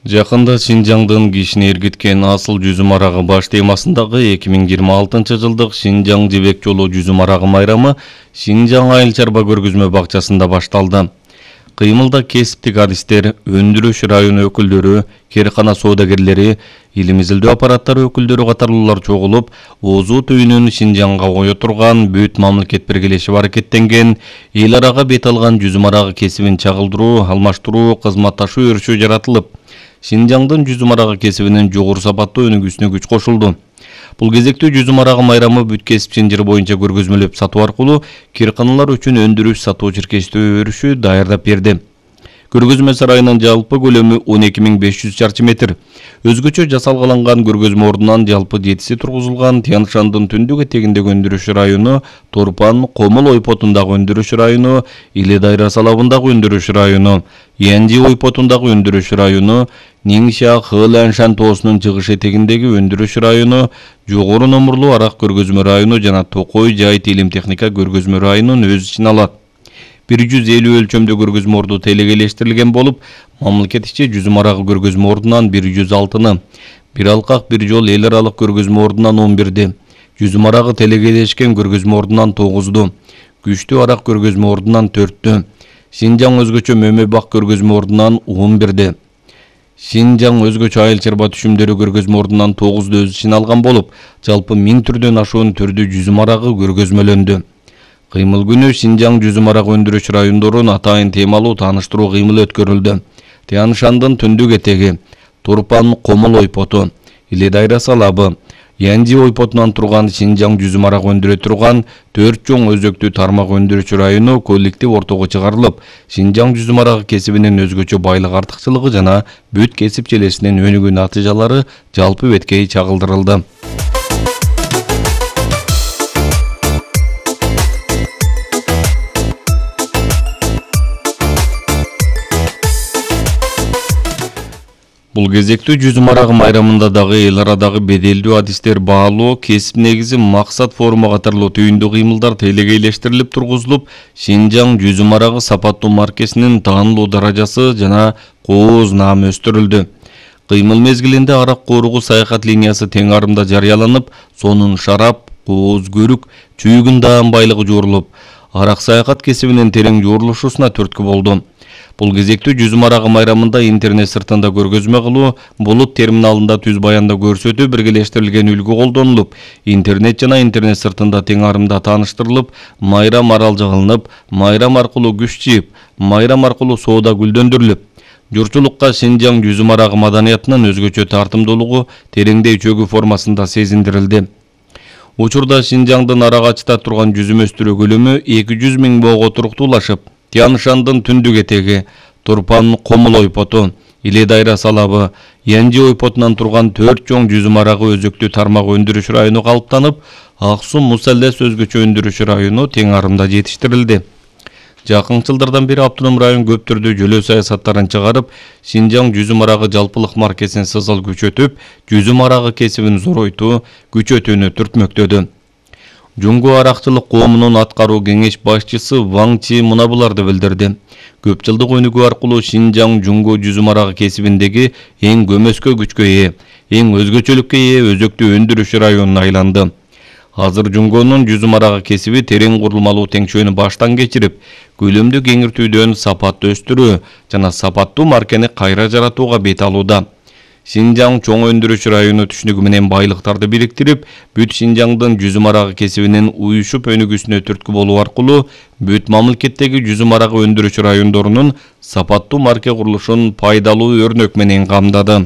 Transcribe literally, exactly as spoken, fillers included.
Жакында Шинжаңдын кишини эргиткен асыл жүзүм арагы баш темасындагы эки миң жыйырма алтынчы жылдык Шинжаң жебек жолу жүзүм арагы майрамы Шинжаң айыл чарба көргөзмө бакчасында башталды. Кыймылда кесиптик адистер, өндүрүш району өкүлдөрү, керкана соодагерлери, илим изилдөө аппараттары өкүлдөрү катарлуулар чогулуп, Оозу түйүнүн Шинжаңга кое турган бүт мамлекет биргелешип аракеттенген эл арага бет алган жүзүм арагы кесибин чагылдыруу, алмаштыруу, кызматташуу өрүшү жаратылып, Шинжаңдын жүзүм арагы кесибинин жогору сапаттуу өнүгүүсүнө күч кошулду. Бул кезекте жүзүм арагы майрамы бүт кесип чынжыры боюнча көргөзмөлөп сатуу аркылуу керканалар үчүн өндүрүш сатуу чиркештөө өрүшү даярдап берди. Көргөзмө сарайынын жалпы көлөмү он эки миң беш жүз чарчы метр. Өзгөчө жасалгаланган көргөзмө ордунан жалпы жетиси тургузулган Тянь-Шандын түндүк этегиндеги өндүрүш району, Торпан, Комул ойпотундагы өндүрүш району, Иле Дайрасы алабындагы өндүрүш району, Янжи ойпотундагы өндүрүш району, Ниңша Хыланшан тоосунун чыгыш этегиндеги өндүрүш району, жогору номурлуу арак көргөзмө району жана Токой жайыт илим техника көргөзмө районун өз ичине алат. бир жүз элүү өлчөмдө көргөзмө орду телегейлештирилген болуп, мамлекет ичи жүзүм арагы көргөзмө ордунан бир жүз алтыны, бир алкак бир жол эл аралык көргөзмө ордунан он бирди, жүзүм арагы телегейлешкен көргөзмө ордунан тогузду, күчтүү арак көргөзмө ордунан төрттү, Шинжаң өзгөчө мөмө бак көргөзмө ордунан он бирди. Шинжаң өзгөчө айыл чарба түшүмдөрү көргөзмө ордунан тогузду өз ичине алган болуп, жалпы миң түрдөн ашуун түрдүү жүзүм арагы көргөзмөлөндү. Кыймыл күнү Шинжаң жүзүм арагы өндүрүш райондорун атайын темалуу тааныштыруу кыймылы өткөрүлдү. Тянь-Шандын түндүк этеги, Турпан Комул ойпоту, Иле Дайрасы алабы, Янжи ойпотунан турган Шинжаң жүзүм арагы өндүрө турган төрт чоң өзөктүү тармак өндүрүш району коллектив ортого чыгарылып, Шинжаң жүзүм арагы кесибинин өзгөчө байлык артыкчылыгы жана бүт кесип желесинин өнүгүү натыйжалары жалпы беткей чагылдырылды. Бул кезектүү жүзүм арагы майрамында дагы эл арадагы беделдүү адистер баалоо, кесип негизи, максат форуму катарлуу түйүндүү кыймылдар телегейлештирилип тургузулуп, Шинжаң жүзүм арагы сапаттуу маркесинин таанылуу даражасы жана кооз наамы өстүрүлдү. Кыймыл мезгилинде арак кооругу саякат линиясы тең арымда жарыяланып, сонун шарап, кооз көрүк, чүйгүн даам байлыгы жуурулуп, арак саякат кесибинин терең жуурулушуна түрткү болду. Бул кезектүү жүзүм арагы майрамында интернет сыртында көргөзмө кылуу, булут терминалында түз баянда көрсөтүү биргелештирилген үлгү колдонулуп, интернет жана интернет сыртында тең арымда тааныштырылып, майрам аралжы кылынып, майрам аркылуу күч жыйып, майрам аркылуу соода гүлдөндүрүлүп, журтчулукка Шинжаң жүзүм арагы маданиятынын өзгөчө тартымдуулугу тереңдей чөгүү формасында сезиндирилди. Учурда Шинжаңдын арагачта турган жүзүм өстүрүү көлөмү эки жүз миң боого туруктуулашып, Тянь-Шандын түндүк этеги, Турпан Комул ойпоту, Иле Дайрасы алабы, Янжи ойпотунан турган төрт чоң жүзүм арагы өзөктүү тармак өндүрүш району калыптанып, Аксум Мусаллес өзгөчө өндүрүш району тең арымда жетиштирилди. Жакын жылдардан бери автоном район көп түрдүү жөлөө саясаттарын чыгарып, Шинжаң жүзүм арагы жалпылык маркесин сызыл күчөтүп, жүзүм арагы кесибин зоройтуу, күчөтүүнү түртмөктөдү. Жуңго аракчылык коомунун аткаруу кеңеш башчысы Ваң Чи мына буларды билдирди. Көп жылдык өнүгүү аркылуу Шинжаң жуңго жүзүм арагы кесибиндеги эң көмөскө күчкө ээ, эң өзгөчөлүккө ээ өзөктүү өндүрүш районуна айланды. Азыр жуңгонун жүзүм арагы кесиби терең курулмалуу теңчөөнү баштан кечирип, көлөмдү кеңиртүүдөн сапаттуу өстүрүү жана сапаттуу маркени кайра жаратууга бет алууда. Шинжаң чоң өндүрүш району түшүнүгү менен байлыктарды бириктирип, бүт Шинжаңдын жүзүм арагы кесибинин уюшуп өнүгүүсүнө түрткү болуу аркылуу бүт мамлекеттеги жүзүм арагы өндүрүш райондорунун сапаттуу марке курулушун пайдалуу өрнөк менен камдады.